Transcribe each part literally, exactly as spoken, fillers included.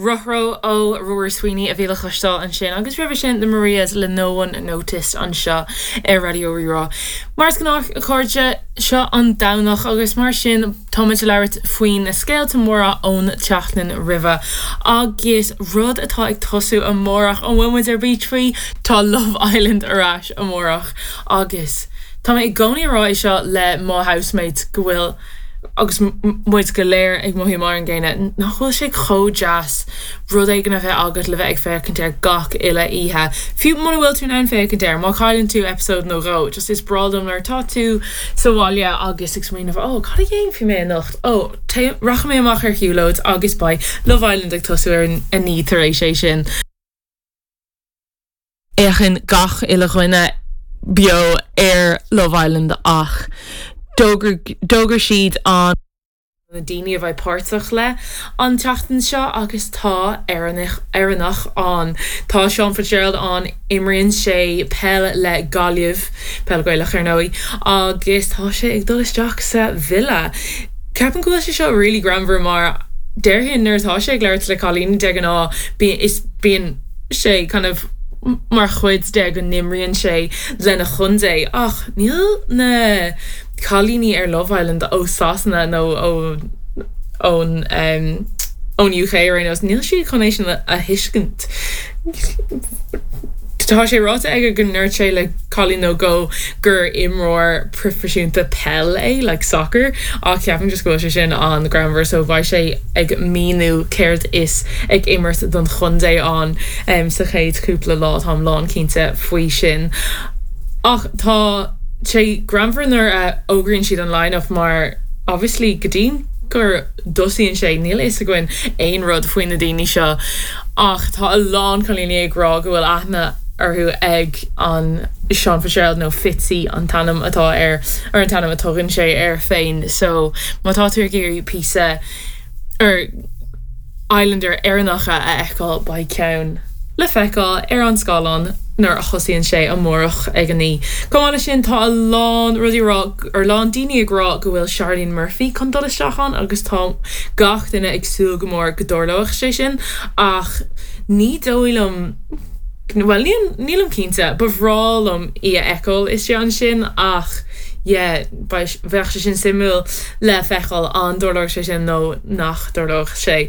Ruthro ó Rory Sweeney a bhí le cloisteáil ansin agus roimhe sin the Marias le No One Noticed anseo ar Raidió Rí-Rá. Mar is gnách a chairde seo an Domhnach agus mar sin táimid ag labhairt faoin na scéalta móra ón tseachtain roimhe. Agus rud atá ag tosú amárach an bhfuil muid ar bís faoi tá Love Island ar ais amárach agus Tá mé i gcónaí ag rá seo le mo housemate go bhfuil agus muid go léir ag mothú mar an gcéanna nach bhfuil sé chomh deas rud éigin a bheith agat le bheith ag féachaint ar gach uile oíche. Fiú muna bhfuil tú an féachaint air má chailleann tú episode nó dhó, just is breá liom nuair atá tú sa bhaile agus ag smaoineamh ó cad a dhéanfaidh mé anocht ó rachaidh mé amach ar shiúlóid agus beidh Love Island ag tosú ar a naoi tar éis é sin. Féachann gach uile dhuine beo ar Love Island ach d'fhógair siad an na daoine a bheidh páirteach le an tseachtain seo agus tá Éireannach ann. Tá Sean Fitzgerald ann imríonn sé peil le Gaillimh peil Ghaelach ar ndóigh agus tá sé ag dul isteach sa villa. Ceapaim go bhfuil sé seo really greannmhar mar déarfainn nuair atá sé ag labhairt le cailíní de ghnáth is bíonn sé kind of mar chuid de go n-imríonn sé lena chontae ach níl na cailíní ar Love Island ó Sasana nó ó ón um, ón UK ar aon nós níl siad chun é sin a thuiscint. Tá sé ráite aige go ndúirt sé le cailín nó dhó gur imreoir proifisiúnta peil é like soccer ach ceapaim just go bhfuil sé sin an-ghreannmhar so beidh sé ag míniú céard is ag imirt don chontae ann um, sa chéad cúpla lá táim lánchinnte faoi sin. Ach tá sé greannmhar nuair a fhógraíonn siad an line-up mar obviously go dtí gur dtosaíonn sé níl fhios againn aon rud faoi na daoine seo ach tá a lán cailíní ag rá go bhfuil aithne orthu ag an Sean Fitzgerald nó Fitzy an t-ainm atá ar ar an t-ainm a tugann sé air féin so má tá tú ag iarraidh píosa ar Islander Éireannacha a fheiceáil beidh ceann le feiceáil ar an scáileán nuair a thosaíonn sé amárach ag a naoi. Chomh maith leis sin tá a lán rudaí rá ar lán daoine ag rá go bhfuil Charlene Murphy chun dul isteach ann agus tá gach duine ag súil go mór go dtarlóidh sé sin ach ní dóigh liom well nílim cinnte ba bhreá liom í a fheiceáil istigh ansin ach yeah, bheadh sé sin suimiúil le feiceáil an dtarlóidh sé sin nó nach dtarlóidh sé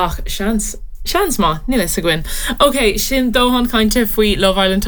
ach seans seans maith níl fhios againn. Ok, sin dóthain cainte faoi Love Island